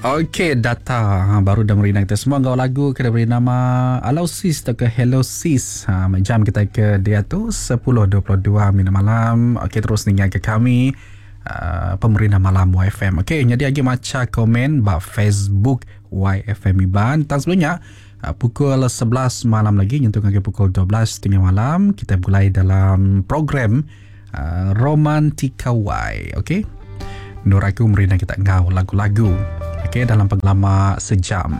Okey data ha, baru dah merindang kita semua enggau lagu ke diberi nama Alau Sis atau ke Hello Sis. Ha, jam kita ke dia tu 10.22 minit malam. Okey terus ninga ke kami uh, pemerintah malam YFM. Okey jadi lagi maca komen ba Facebook YFM Iban. Tang sebelumnya uh, pukul 11 malam lagi nyentuk ngagai pukul 12.30 malam kita mulai dalam program uh, Romantika Y. Okey. Nur aku merindang kita enggau lagu-lagu. Okey dalam pengelama sejam.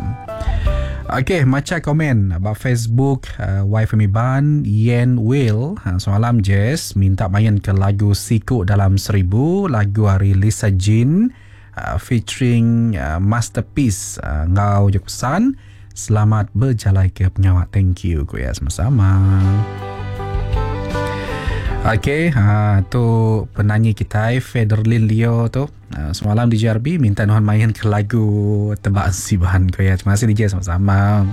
Okey, macha komen ba Facebook uh, YFM Iban Yen Will ha, semalam Jess minta main ke lagu Siku Dalam Seribu lagu ari Lisa Jean uh, featuring uh, Masterpiece uh, enggau jaku pesan selamat bejalai ke pengawa thank you ku ya sama-sama. Okey, ha, tu penanyi kitai Federlin Leo tu. Ha, semalam di JRB minta nuan main ke lagu Tebak Siban ko ya. Terima kasih DJ sama-sama.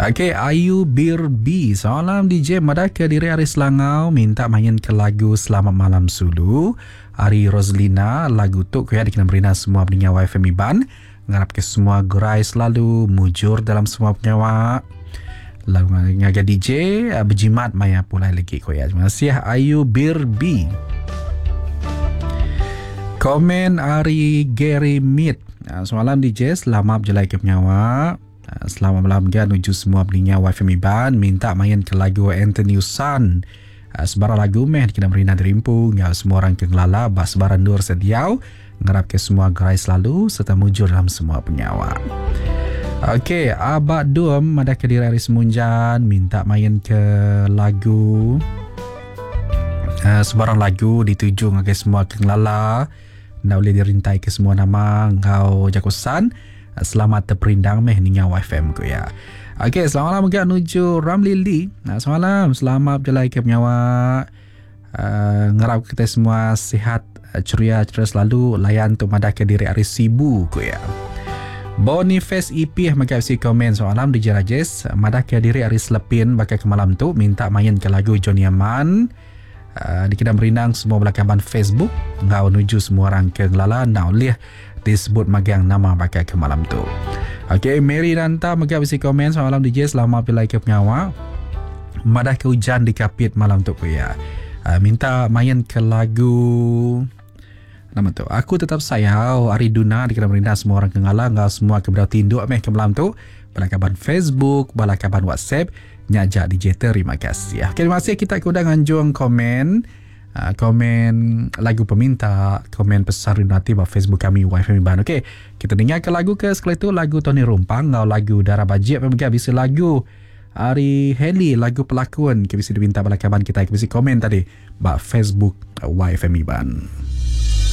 Okey, Ayu Birbi. Semalam DJ madah ke diri ari Selangau minta main ke lagu Selamat Malam Sulu. Ari Roslina lagu tu ko ya dikena merina semua peninga YFM Iban. Ngarap ke semua gerai selalu, mujur dalam semua pengawa. Lalu ngagai DJ eh, berjimat maya pulai lagi ko ya. Terima kasih Ayu Birbi. Komen ari Gary Mead. Ah, semalam DJ selamat berjalai ke pengawa. Ah, selamat malam ga nuju semua peninga YFM Iban minta main ke lagu Anthony Usan. Ah, sebarang lagu meh dikena merina dirimpu enggau semua orang ke ngelala ba sebarang endur sediau. Ngarap ke semua gerai selalu serta mujur dalam semua pengawa. Okey, Abak Dum madah ke diri ari Semunjan minta main ke lagu uh, sebarang lagu dituju ngagai semua ke ngelala. Enda ulih dirintai ke semua nama enggau jaku san. Uh, selamat terperindang meh ninga YFM ku ya. Okey, selamat malam mega nuju Ramli Lee. Uh, selamat malam, selamat berjalai ke pengawa. Uh, ngarap kita semua sihat eh, ceria ceria selalu layan tu madah ke diri ari Sibu ku ya. Boniface EP mega bisi komen soalan DJ Rajes madah ke diri ari Selepin baka ke malam tu minta main ke lagu Johnny Aman uh, dikena merindang semua bala kaban Facebook enggau nuju semua orang ke ngelala enda ulih disebut magang nama baka ke malam tu. Okey, Mary Nanta mega bisi komen semalam DJ selamat pilai ke pengawa. Madah ke ujan di Kapit malam tu ku iya. Uh, minta main ke lagu nama tu. Aku tetap sayau ari Duna dikena merindang semua orang ke ngala enggau semua ke bedau tinduk meh ke malam tu. Bala kaban Facebook, bala kaban WhatsApp, nya aja DJ terima kasih. Okay, terima kasih kita ke udah nganjung komen. Ah, komen lagu peminta, komen pesan rindu ati ba Facebook kami YFM Iban. Okey, kita dengar ke lagu ke sekali tu lagu Tony Rumpang enggau lagu Dara Bajik pun mega bisi lagu ari Haley lagu pelakon ke bisi diminta bala kaban kita ke bisi komen tadi ba Facebook YFM Iban.